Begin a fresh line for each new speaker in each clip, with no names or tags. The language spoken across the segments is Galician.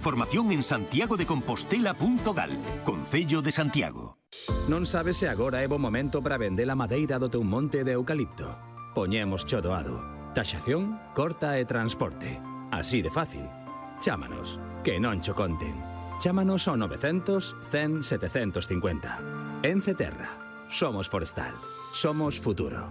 Formación en santiagodecompostela.gal, Concello de Santiago.
Non sabes se agora é bo momento para vender a madeira do teu monte de eucalipto? Poñemos cho doado. Taxación, corta e transporte. Así de fácil. Chámanos, que non cho conten. Chámanos ao 900 100 750. Ence Terra. Somos forestal. Somos futuro.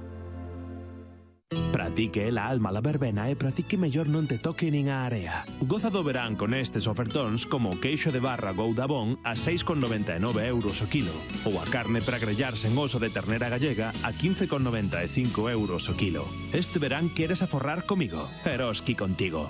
Para ti que é la alma la verbena e para ti que mellor non te toque nin a area. Goza do verán con estes ofertóns como o queixo de barra Goudabón a 6,99 € o kilo ou a carne para grellar sen oso de ternera gallega a 15,95 € o kilo. Este verán queres aforrar comigo, Eroski contigo.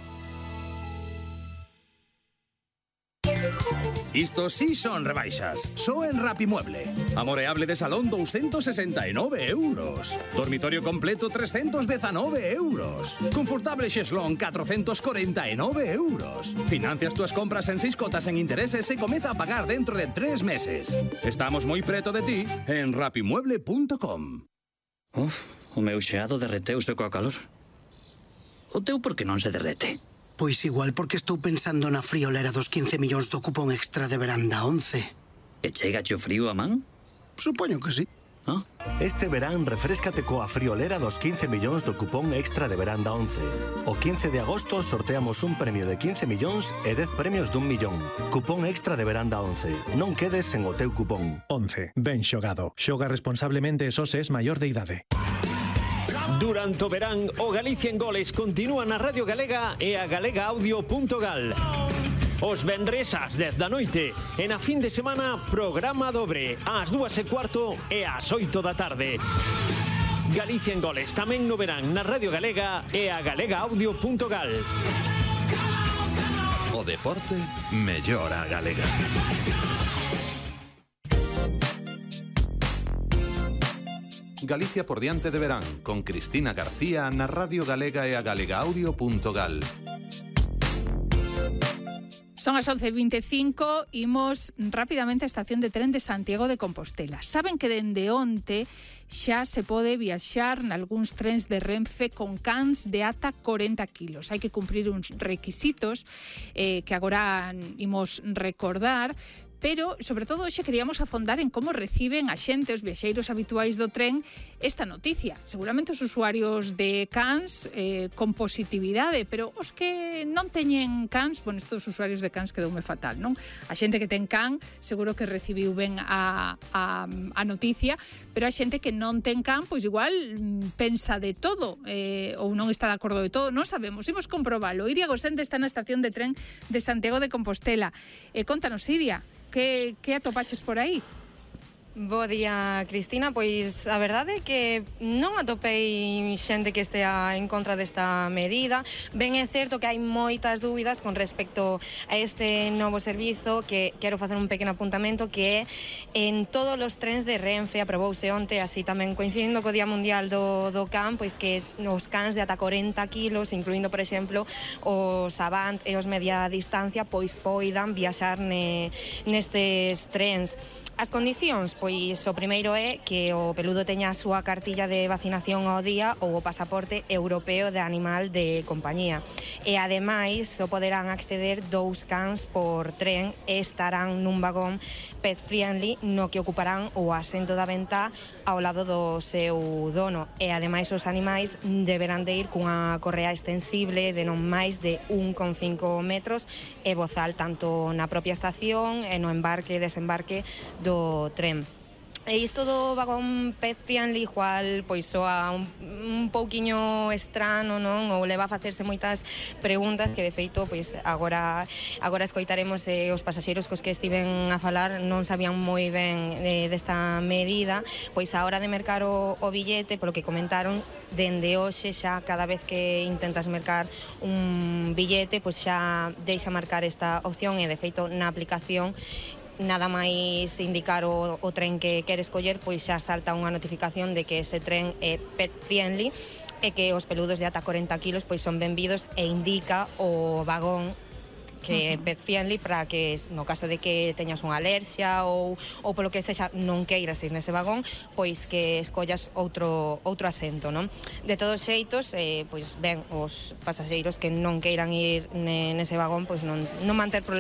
Isto sí son rebaixas. Só en Rapimueble. Amoreable de salón 269 €. Dormitorio completo 319 €. Confortable xeslón 449 €. Financias túas compras en 6 cotas en intereses e comeza a pagar dentro de 3 meses. Estamos moi preto de ti en rapimueble.com.
O meu xeado derreteuse coa calor. O teu por que non se derrete?
Pois igual porque estou pensando na friolera dos 15 millóns do cupón extra de veranda 11.
E chegache o frío a man?
Supoño que sí.
Ah?
Este verán refréscate coa friolera dos 15 millóns do cupón extra de veranda 11. O 15 de agosto sorteamos un premio de 15 millóns e 10 premios d'1 millón. Cupón extra de veranda 11. Non quedes sen o teu cupón.
11. Ben xogado. Xoga responsablemente e só se es maior de idade.
Durante o verán, o Galicia en Goles continúa na Radio Galega e a galegaaudio.gal. Os venres ás 10 da noite e na fin de semana programa dobre ás 2:15 e ás 8 da tarde. Galicia en Goles tamén no verán na Radio Galega e a galegaaudio.gal.
O deporte mellora a galega. Galicia por diante de verán, con Cristina García na Radio Galega e a galegaaudio.gal.
Son as 11:25, imos rapidamente á estación de tren de Santiago de Compostela. Saben que dende onte xa se pode viaxar nalgúns trens de Renfe con cans de ata 40 kilos. Hai que cumprir uns requisitos que agora imos recordar, pero, sobre todo, hoxe queríamos afondar en como reciben a xente, os viaxeiros habituais do tren, esta noticia. Seguramente os usuarios de cans con positividade, pero os que non teñen cans, bueno, estos usuarios de cans quedoume fatal, non? A xente que ten can seguro que recibiu ben a noticia, pero a xente que non ten can, pois igual pensa de todo, ou non está de acordo de todo, non sabemos, imos comprobalo. Iria Gosende está na estación de tren de Santiago de Compostela. Contanos, Iria, que atopaches por aí?
Bo día, Cristina. Pois a verdade é que non atopei xente que estea en contra desta medida. Ben é certo que hai moitas dúbidas con respecto a este novo servizo, que quero facer un pequeno apuntamento, que é en todos os trens de Renfe. Aprobouse onte, así tamén coincidindo co Día Mundial do Can, pois que os cans de ata 40 kilos, incluindo, por exemplo, os Avant e os media distancia, pois poidan viaxar nestes trens. As condicións, pois o primeiro é que o peludo teña a súa cartilla de vacinación ao día ou o pasaporte europeo de animal de compañía. E ademais só poderán acceder 2 cans por tren e estarán nun vagón pet friendly no que ocuparán o asento da ventá ao lado do seu dono. E ademais os animais deberán de ir cunha correa extensible de non máis de 1,5 metros e bozal tanto na propia estación e no embarque e desembarque do tren. E isto do vagón pet friendly igual pois soa un pouquiño estrano, non? Ou leva a facerse moitas preguntas que de feito pois agora escoitaremos os pasaxeiros cos que estiven a falar non sabían moi ben desta medida, pois a hora de mercar o billete, polo que comentaron, dende hoxe xa cada vez que intentas mercar un billete pois xa deixa marcar esta opción e de feito na aplicación nada máis indicar o tren que queres coller, pois xa salta unha notificación de que ese tren é pet friendly e que os peludos de ata 40 kilos pois son benvidos e indica o vagón que é pet friendly para que no caso de que teñas unha alerxia ou polo que sexa non queiras ir nese vagón, pois que escollas outro asento, non? De todos xeitos, pois ben, os pasaxeiros que non queiran ir nese vagón, pois non van ter problema